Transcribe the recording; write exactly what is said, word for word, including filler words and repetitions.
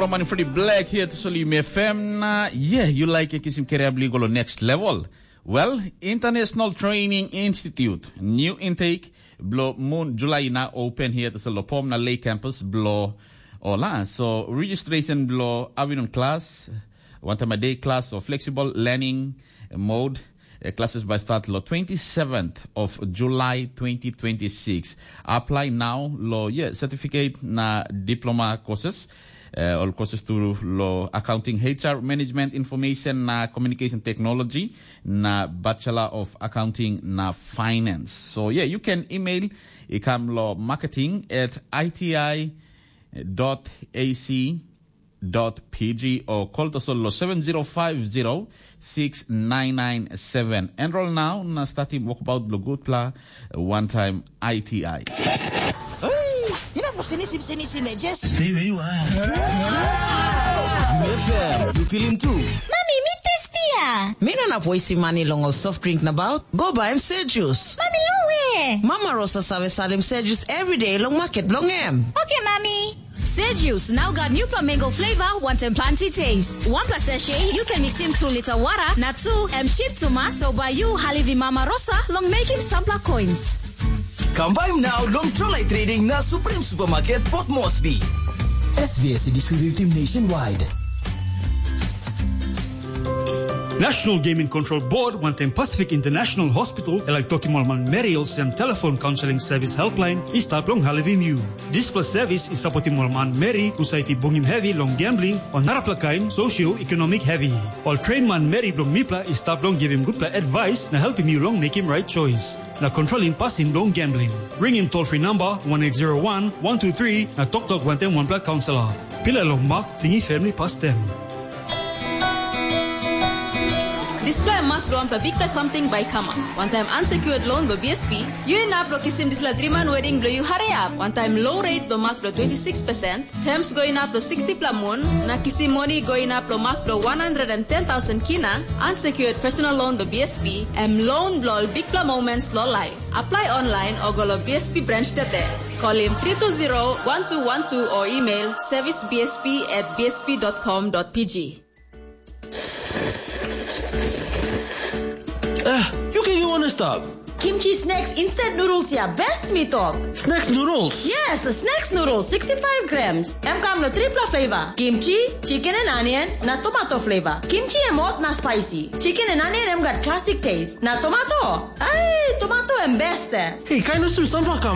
Roman Freddy Black here to Solim F M na yeah, you like kisim kerea bligo lo next level. Well, International Training Institute, new intake, blo moon July na open here to Solopom na Lake Campus, blo ola. So registration blo afternoon class, one time a day class or flexible learning mode, uh, classes by start lo twenty-seventh of July twenty twenty-six. Apply now lo yeah, certificate na diploma courses. Uh, all courses to lo accounting, H R management, information na communication technology, na Bachelor of Accounting na Finance. So yeah, you can email ikam lo marketing at I T I dot A C dot P G or call to solo seven zero five zero six nine nine seven. Enroll now na starting walkabout blo good pla one time I T I. Hey, you know, sini sim sini sim just. Stay where you are. You F M, you kill him too. Mami, mi testia. Mi no na poisi mani long ol soft drink na baut. Go buy him Sejus. Mami, lowe. Mama Rosa save salim Sejus every day long market blong em. Okay, Mami. Sejus now got new flamingo flavor, one time planty taste. One plus sachet, you can mix in two liter water, na two M ship to mass, so by you, Halivi Mama Rosa, long make him sampler coins. Kam bai now long Trolai Trading na Supreme Supermarket Port Moresby. S V S distributing nationwide. National Gaming Control Board wantaim Pacific International Hospital e laik tokim ol manmeri olsem telefon kaunseling sevis helpline i stap long helpim yu. Dispela sevis i sapotim ol manmeri husat i bungim hevi long gambling o narapela kain socio-ekonomik hevi. Ol tren manmeri bilong mipela i stap long givim gutpela advais na helpim yu long mekim rait choice na kontrolim pasin bilong gambling. Ringim toll free number one eight zero one one two three na toktok wantaim wanpela kaunselor. Pilai long mak, tingi family pastem. Dispela em mak bilong wanpela bikpela samting bai i kamap. Wantaim unsecured loan bilong B S P, yu inap long kisim dispela driman wedding bilong yu hariap. Wantaim low rate bilong mak bilong twenty six percent, terms go inap long sixty pela mun, na kisim moni go inap long mak bilong one hundred and ten thousand kina, unsecured personal loan bilong B S P, em loan bilong ol bikpela moments long laip. Apply online o go long B S P branch today. Call him three two zero one two one two or email service B S P at B S P dot com dot P G. Ah, you can you wanna stop? Kimchi snacks instant noodles ya best mi tok. Snacks noodles? Yes, snacks noodles sixty-five grams. Em kam na tripla flavor. Kimchi, chicken and onion, na tomato flavor. Kimchi em hot na spicy. Chicken and onion em gat classic taste. Na tomato? Ai, tomato em best eh. Hey, kain o su sampla kam.